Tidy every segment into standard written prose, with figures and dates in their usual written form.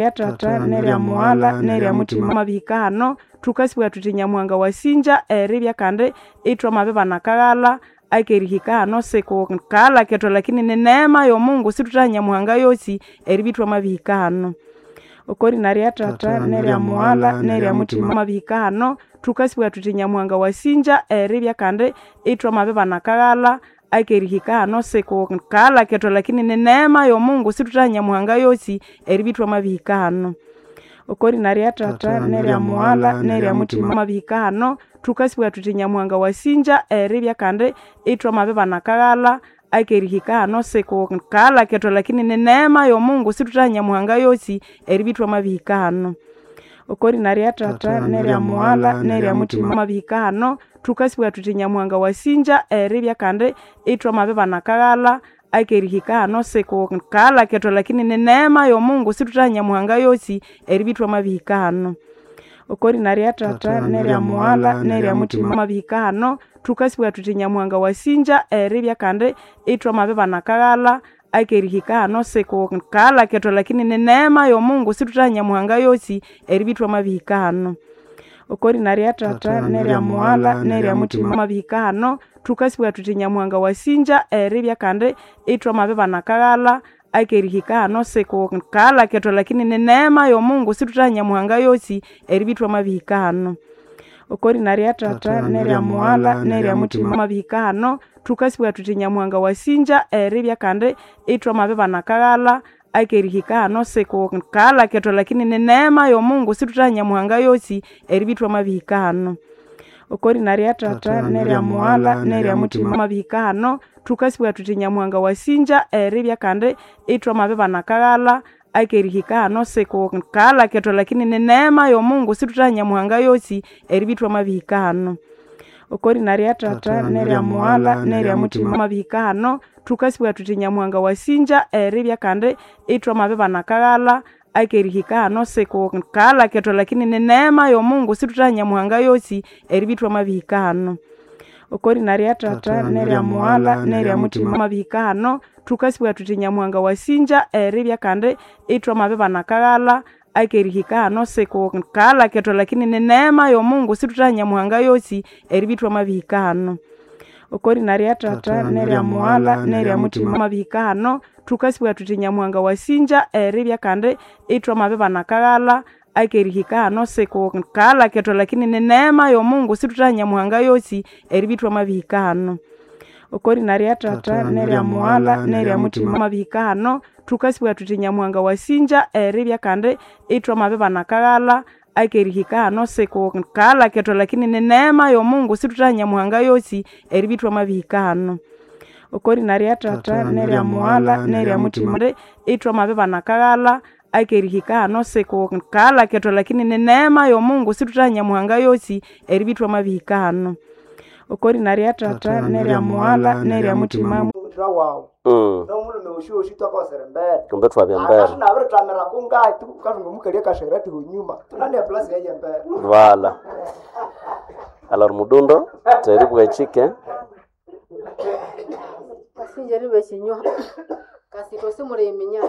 Lya tata nerya mughalha nerya muthima mabihika hano thukasibwa thuthi Nyamuhanga wasinja eribya kandi ithwamabibana akaghalha akerihika hano sikukaghalha kethu lakini ni neema y'omungu sithuthaha Nyamuhanga yosi eribya ithwamabihika hano. Oko rina rya tata nerya mughalha nerya muthima mabihika hano thukasibwa thuthi Nyamuhanga wasinja eribya kandi ithwamabibana akaghalha akerihika hano sikukaghalha kethu lakini ni neema y'omungu sithuthaha Nyamuhanga yosi eribya ithwamabihika hano. Oko rina rya tata nerya mughalha nerya muthima mabihika hano thukasibwa thuthi Nyamuhanga wasinja eribya kandi ithwamabibana akaghalha akerihika hano sikukaghalha kethu lakini ni neema y'omungu sithuthaha Nyamuhanga yosi eribya ithwamabihika hano. Oko rina rya tata nerya mughalha nerya muthima mabihika hano thukasibwa thuthi Nyamuhanga wasinja eribya kandi ithwamabibana akaghalha akerihika hano sikukaghalha kethu lakini ni neema y'omungu sithuthaha Nyamuhanga yosi eribya ithwamabihika hano. Oko rina rya tata nerya mughalha nerya muthima mabihika hano thukasibwa thuthi Nyamuhanga wasinja eribya kandi ithwamabibana akaghalha akerihika hano sikukaghalha kethu lakini ni neema y'omungu sithuthaha Nyamuhanga yosi eribya ithwamabihika hano. Oko rina rya tata nerya mughalha nerya muthima mabihika hano thukasibwa thuthi Nyamuhanga wasinja eribya kandi ithwamabibana akaghalha akerihika hano sikukaghalha kethu lakini ni neema y'omungu sithuthaha Nyamuhanga yosi eribya ithwamabihika hano. Oko rina rya tata nerya mughalha nerya muthima mabihika hano thukasibwa thuthi Nyamuhanga wasinja eribya kandi ithwamabibana akaghalha akerihika hano sikukaghalha kethu lakini ni neema y'omungu sithuthaha Nyamuhanga yosi eribya ithwamabihika hano. Oko rina rya tata nerya mughalha nerya muthima mabihika hano thukasibwa thuthi Nyamuhanga wasinja eribya kandi ithwamabibana akaghalha akerihika hano sikukaghalha kethu lakini ni neema y'omungu sithuthaha Nyamuhanga yosi eribya ithwamabihika hano. Oko rina rya tata nerya mughalha nerya muthima mabihika hano thukasibwa thuthi Nyamuhanga wasinja eribya kandi ithwamabibana akaghalha akerihika hano sikukaghalha kethu lakini ni neema y'omungu sithuthaha Nyamuhanga yosi eribya ithwamabihika hano. Oko rina rya tata nerya mughalha nerya muthima mabihika hano thukasibwa thuthi Nyamuhanga wasinja eribya kandi ithwamabibana akaghalha akerihika hano sikukaghalha kethu lakini ni neema y'omungu sithuthaha Nyamuhanga yosi eribya ithwamabihika hano. Oko rina rya tata nerya mughalha nerya muthima mabihika hano thukasibwa thuthi Nyamuhanga wasinja eribya kandi ithwamabibana akaghalha akerihika hano sikukaghalha kethu lakini ni neema y'omungu sithuthaha Nyamuhanga yosi eribya ithwamabihika hano. Oko rina rya tata nerya mughalha nerya muthima mabihika hano thukasibwa thuthi Nyamuhanga wasinja eribya kandi ithwamabibana akaghalha akerihika hano sikukaghalha kethu lakini ni neema y'omungu sithuthaha Nyamuhanga yosi eribya ithwamabihika hano. Oko rina rya tata nerya mughalha nerya muthima ithwamabibana akaghalha akerihika hano sikukaghalha kethu lakini ni neema y'omungu sithuthaha Nyamuhanga yosi eribya ithwamabihika hano. Oko rina rya tata nerya mughalha nerya muthima wawu nomulume woshiwoshi twakawasira embere Kumbe twabya mbere. akasha nabirithamira kungayi tukathunga omukali akashera ati hunyuma tunane plasi yaye embere Voilà. Alors mudundo teri bwechike Kasinje ribe chinywa kasito simuliminya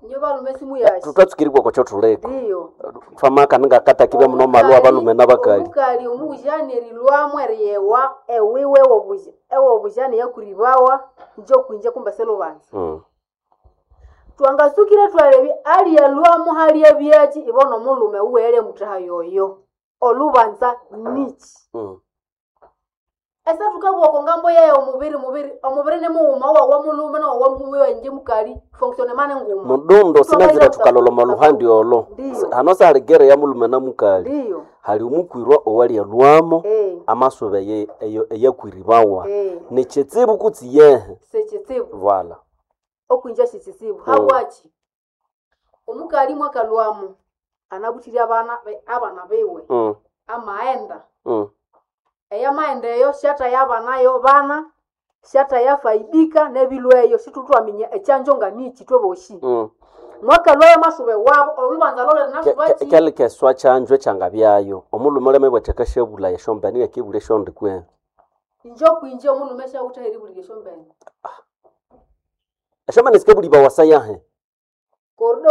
nyo balume simu yashi tutatsikiribwa kwa chotuleko ndiyo twamaka ningakata kibe muno malwa abalume n'abakali omukali omubujani erilwamu eriyewa ewiwe ewobujani yakuribawa njo kwinje kumbe selubanza twangasukire twalebi aliyalwamu hali ebyechi ibona omulume uwele mutaha yoyo olubanza nichi esa tukabwoko ngambo yaye omubiri mubiri omubiri ni mughuma wawa mulume nowawa muwenje mukali fonctionnement nguma mudundo sinazira tukaloloma luhandi olo Ndiyo. hano saligere ya mulume na mukali ndiyo hali omukwirwa owaliyalwamo eh amasuba eyakwiribawa eh nichitsibu kutsi yehe sechitsibu vala okwinja shichitsibu habwachi omukali mwakalwamu anabuthirya abana abana biwe amaenda eyamaenda eyo shata yabanayo bana shata yafaidika nebilweyo situtwaminya echanjo nga nichi tweboshi mwakalwayo masube wabo olubanza lole linasubaki kyalikeswa kyanjwe kyangabyayo omulume uleme bwatheka syabula esyombene yakibula esyondi kwe injo kwinje omulume shawutha eribulira esyombene esyombene sikabulibwa wasayahe korido.